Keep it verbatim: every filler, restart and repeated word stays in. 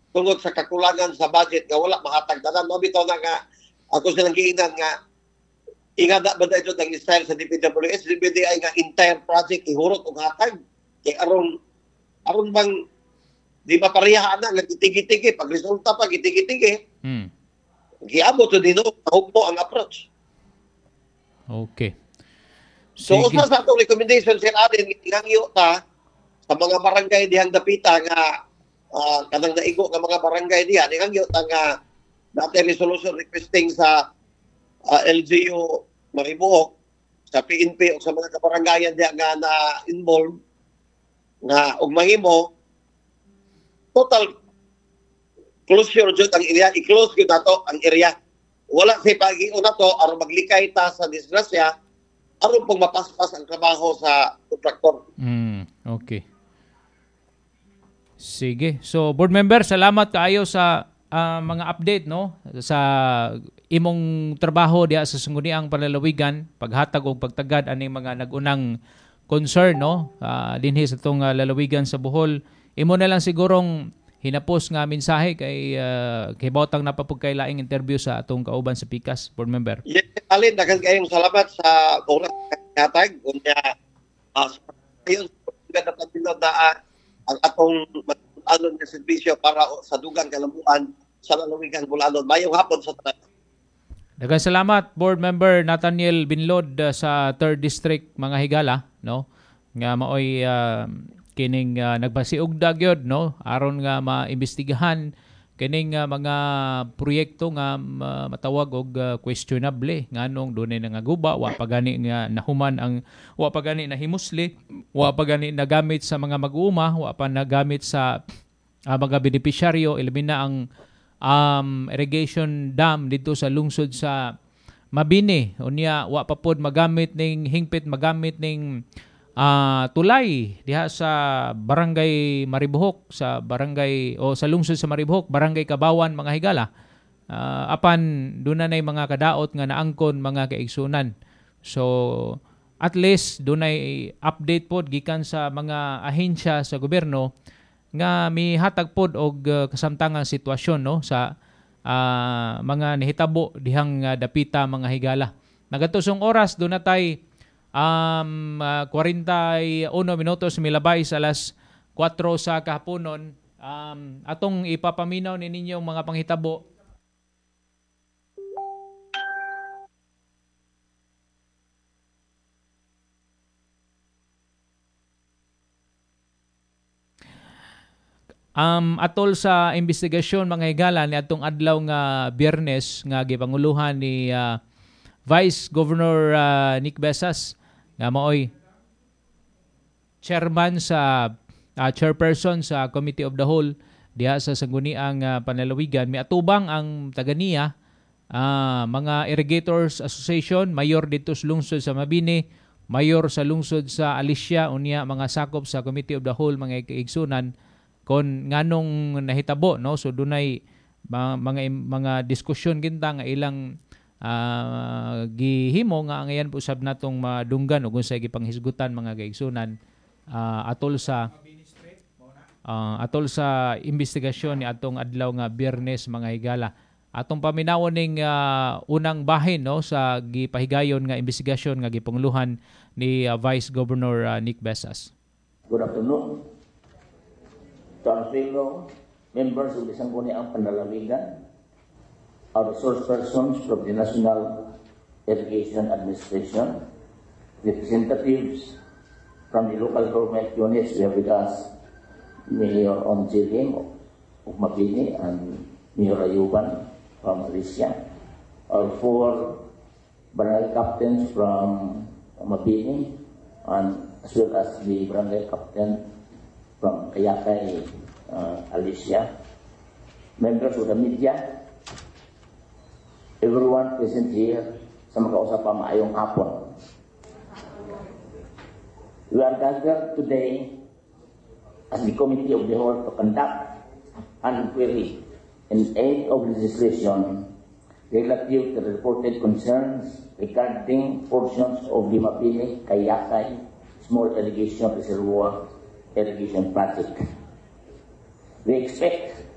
Tungod sa kakulangan sa budget nga wala mahatag tanan. Mao bitaw na nga ako silang giingnan nga ingana ba ito ang style sa D P W H, D P D ay nga entire project ihurot og hatag kay aron aron bang di ba pareha ana nga gitigi-tigi pag resulta pa gitigi-tigi? Mm. Giabot to dino hugmo ang approach. Okay. So Sige. usa sa atong recommendation, Sir Allen, gihangyo ta sa mga barangay dihang dapita nga ah, kanang naigo nga mga barangay diha, gihangyo ta nga dati resolution requesting sa ah, L G U Maribojoc, sa P N P o sa mga kabarangayan diha nga na involved nga og mahimo total closure jud ang area, i-close gyud nato ang area. Wala say pagion nato aron maglikay ta sa disgrasya, aron pong mapaspas ang trabaho sa kontraktor. Mm, okay. Sige. So, board member, salamat kaayo sa ah, mga update, no, sa imong trabaho diha sa Sangguniang Panlalawigan, paghatag og pagtagad aning mga nagunang concern, no, ah, dinhi sa atong ah, lalawigan sa Bohol. Imo na lang sigurong hinapos nga mensahe kay uh, kay bawtang napapugkay laing interview sa atong kauban sa Pikas, board member. Yes, Alin, daghan kayong salamat sa oras nga hatag. Unya, uh, ayun, ganda na uh, ang atong ano nga serbisyo para sa dugang kalambuan sa lalawigan Bulanon. Mayong hapon sa tanan. Daghang salamat, Board Member Nathaniel Binlod uh, sa third District, mga higala, no, nga maoy uh, kining uh, nagbasiugda gyud, no, aron nga maimbestigahan kining uh, mga proyekto nga uh, matawag og uh, questionable, nganong dunay nangaguba, wa pa gani nga nahuman ang, wa pa gani nahimusli, wa pa gani nagamit sa mga mag-uuma, wa pa nagamit sa uh, mga benepisyaryo, ilabi na ang um, irrigation dam dito sa lungsod sa Mabini. Unya wa pa pod magamit ning hingpit magamit ning uh, tulay diha sa Barangay Maribojoc, sa barangay o sa lungsod sa Maribojoc, Barangay Kabawan, mga higala. Uh, apan doon na mga kadaot nga naangkon, mga kaigsunan. So at least dunay update pod gikan sa mga ahensya sa gobyerno nga mihatag pod og uh, kasamtangang sitwasyon, no, sa uh, mga nihitabo dihang uh, dapita, mga higala. Nagatusong oras doon na tay um, uh, kwarenta y uno minutos milabay sa alas kwatro sa kahaponon. Um, atong ipapaminaw ni ninyong mga panghitabo. Um, atol sa investigasyon, mga higala, ni atong adlaw nga Biyernes nga gipanguluhan ni uh, Vice Governor uh, Nick Besas nga maoy chairman sa uh, chairperson sa Committee of the Whole diha sa Sangguniang uh, Panlalawigan. Miatubang ang taganiya, uh, mga Irrigators Association, mayor dito sa lungsod sa Mabini, mayor sa lungsod sa Alicia, unya mga sakop sa Committee of the Whole, mga kaigsunan, kon nganong nahitabo, no. So dunay mga mga, mga diskusyon kinta nga ilang uh, gihimo nga angayan po sab natong madunggan ug unsay gipanghisgutan, mga kaigsunan, uh, atol sa uh, atol sa investigasyon ni atong adlaw nga Biyernes, mga higala. Atong paminawon ning uh, unang bahin, no, sa gipahigayon nga investigasyon nga gipanguluhan ni uh, Vice Governor uh, Nick Besas. Good afternoon to our fellow members of the Sangguniang Panlalawigan, our resource persons from the National Irrigation Administration, representatives from the local government units. We have with us Mayor Onjiling of Mabini and Mayor Ayuban from Alicia, our four barangay captains from Mabini, and as well as the barangay captain from Kayakay, uh, Alicia, members of the media, everyone present here sa makausap pa, maayong hapon. We are gathered today as the Committee of the Whole to conduct an inquiry in aid of legislation relative to the reported concerns regarding portions of the Mabini Kayakay Small Irrigation Reservoir Irrigation Project. We expect